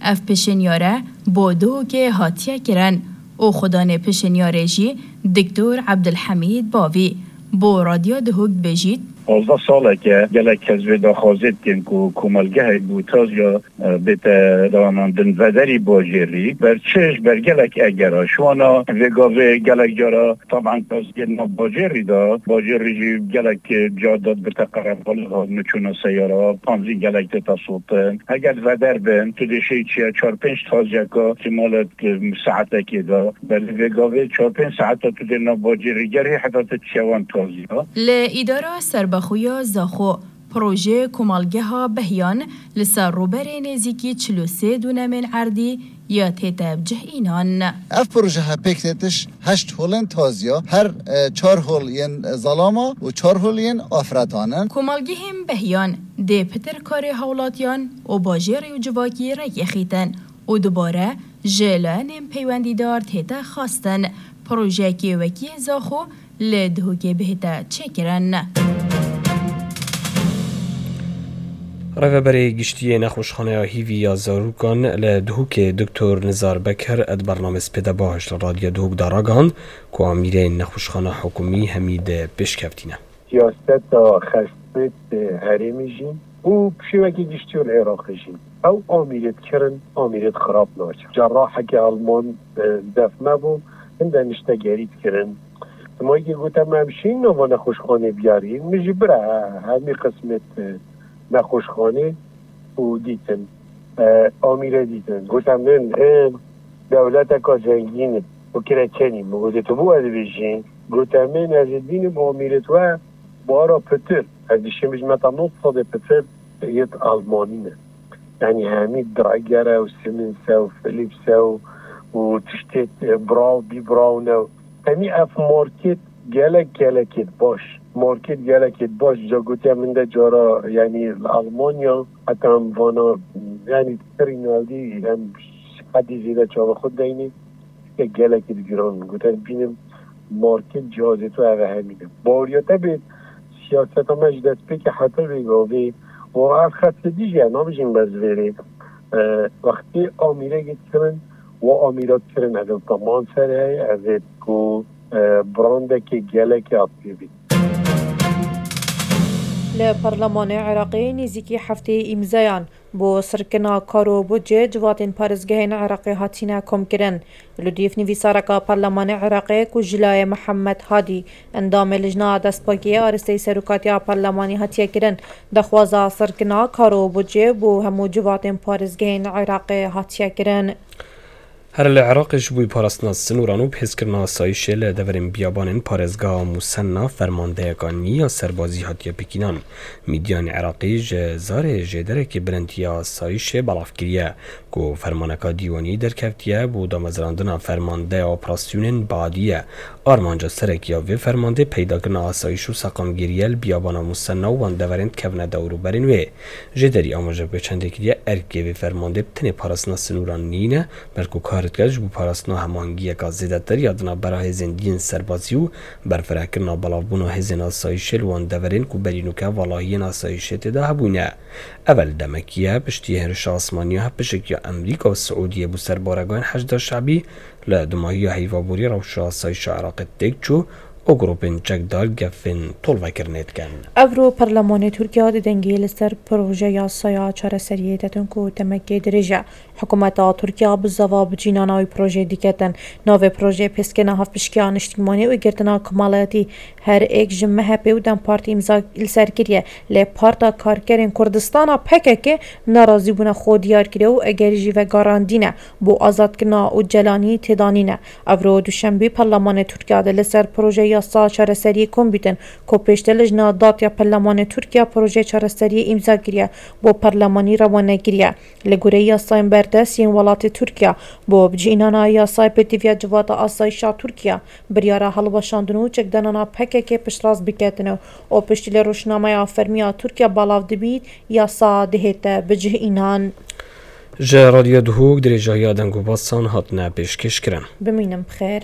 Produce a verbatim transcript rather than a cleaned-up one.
Ev pişinyare bo Duhokê hatiye kirin û xudanê pişinyarê jî Diktor Ebdulhemîd Bavî bo Radyo Duhok dibêjît. Pazdeh salek e gelek kes vê daxwazê dikin ku komelgehek bo taziya, e, bête dawamandin vederî bajêrî. Ber çi? Ji ber gelek egera. Ji wana vê gavê gelek cara Taban, ez gel nav bajêrî de, bajêrî jî gelek, e, ca de dibirte qerebalix, hat miçûna seyara, pancî gelek tê tesotin. Heger veder bin, tu dê şey çiye çar pênc taziyeka, ihtimalet, e, saetekê de. Belê vê gavê çar pênc saeta tu dê nav bajêrî gerî heta tu çiye wan taziya. Li îdara serbexwe ya Zaxo, projeyê komalgeha Behyan li ser rûberê nêzîkî çil û sê dûnemên erdî ya tête bicih înan. Ev projeha pêk têtiş heşt holên taziya, her, e, çar hol yên Zalama û çar hol yên Afretan in. Komalgehên Behyan dê pitir karê hawlatiyan û bajêrî û civakî rêkê xîtin û dubare ji layenên peywendîdar tête xwestin projeyekê wekî Zaxo li Duhokê bihête çêkirin. Rêveberê Giştî yê Nexweşxaneya Hîvî ya Zarokan li Duhokê Doktor Nizar Bekir di bernameyê Spêde Baş li Radyo Duhok de ragihand ku amîrên nexweşxaneya hikûmî hemî di pêşkevtî ne. Siyaseta xestê herêmê jî û bi şêwekî giştî û li Iraqê jî ew amîrêt kirin, amîrêt xirab naçe. Cerrahekî Alman, e, def me bû, hinde niştegerî dikirin. Simayekî gote me, em şîn nava nexweşxanê biyarîn. Min jî bira hemî qismêt, e, nexweşxanê û dîtin, e, amîre dîtin. Gote min, ê, dewleteka zengîn im û kireçenî. Min gote, tu bo ez dibêjî? Gote min, ez ê bînim amîrêt we bara pitir. Ez dişêm ji me ta nod sedê pitir yêt Almanî ne. Yanî hemî Dräger e û Siemens e û Philips e û, û tiştê, e, braw, bî braw ne. Hemî ev market gelek, gelekêt baş. Market gelekêt baş. Ca gotiye min de cara, yanî li Almanya, heta em vana, yanî pirî navdî, em hedî zêde çava xwe deynê, gelekêt giran. Gote, bînim market cihazê tu eve hemî de. Baweriya te bê siyaseta me ji destpêkê heta vê gavê û ev xestê dî jî, ez nabêjim bes vêrê. E, wextê amîrekê dikirin, wa amîra dikirin, ev ê teman ser heye, ev ê ku, e, brandekê gelekê hat pê bît. Li Parlemanê Iraqê nêzîkî heftê îmzeyan bo sirkirina kar û budcê civatên parêzgehên Iraqê hatine komkirin. Li dûv nivîsareka Parlemanê Iraqê ku Jilayê Mihemed Hadî, endamê Lijna Destpakiyê Aristeyî Serokatiya Parlemanî hatiye kirin, daxwaza sirkirina kar û budcê bo hemû civatên parêzgehên Iraqê hatiye kirin. Her li Iraqê ji bo parastina sinûran û bihêzkirina asayîşê li deverên biyabanên parêzgeha Musenna fermandeyeka nî ya serbazî hatiye pêkînan. Mîdyanê Iraqî ji zarê jêderekî bilind ya asayîşê belav kiriye ku fermaneka dîwanî derkevtiye bo damezrandina fermandeya operasyonên badî ye. Armanca sereke ya vê fermandê peydakirina asayîş û seqamgirî ye li biyabana Musenna û wan deverên dikevine dewrûberên wê. Jêderî amaje bi çendê kiriye, erkê vê fermandê bi tenê parastina sinûran nîne, belku kar dike ji bo parastina hemahengiyeka zêdetir ya di navbera hêzên dî yên serbazî û berfirekirina belavbûna hêzên asayîşê li wan deverên ku berî nûke valahiyên asayîşê tê de hebûne. Ev li demekî ye, piştî hêrişa asmanî ya hevpişik ya Amerîka û Siûdiyê bo ser baregahên Heşda Şebî, li dumahiya heyvaborî rewşa asayîşa Iraqê têk çû û grûpên çekdar gefên tolvekirinê dikin. Evro Parlemanê Tirkiye di dengê li ser proje yasaya çareseriyê de din ku demekê dirêj e. Hikûmeta Tirkiye bi zava bicînana wî projeyê diketin. Navê projeyê pêskirina hevpişkiya niştîmanî û girtina komelayetî her êk ji M H P û DEM Partî îmza li ser kiriye. Lê Parta Karkerên Kurdistana P K K nerazîbûna xwe diyar kiriye û egerî jî vegerandîne bo azadkirina Ocalanî têda nîne. Evro duşembî Parlemanê Tirkiye de li ser proje yasa çareseriyê kom bîtin, ku pêşte Lijna Datiya Parlemanê Tirkiye proje çareseriyê îmza kiriye, bo Parlemanî rewane kiriye. Li gorî yasayên berdest yên welatê Tirkiye, bo bicînana yasayê pêtiviya Civata Asayîşa Tirkiye, biryara hilweşandin û çekdanana P K K piştrast biketin û piştî li rojnameya fermî ya Tirkiye belav dibît, yasa dihête bicih înan. Ji Radyo Duhok dirêjahiya deng û basan hatine pêşkêşkirin. Bimînin bi xêr.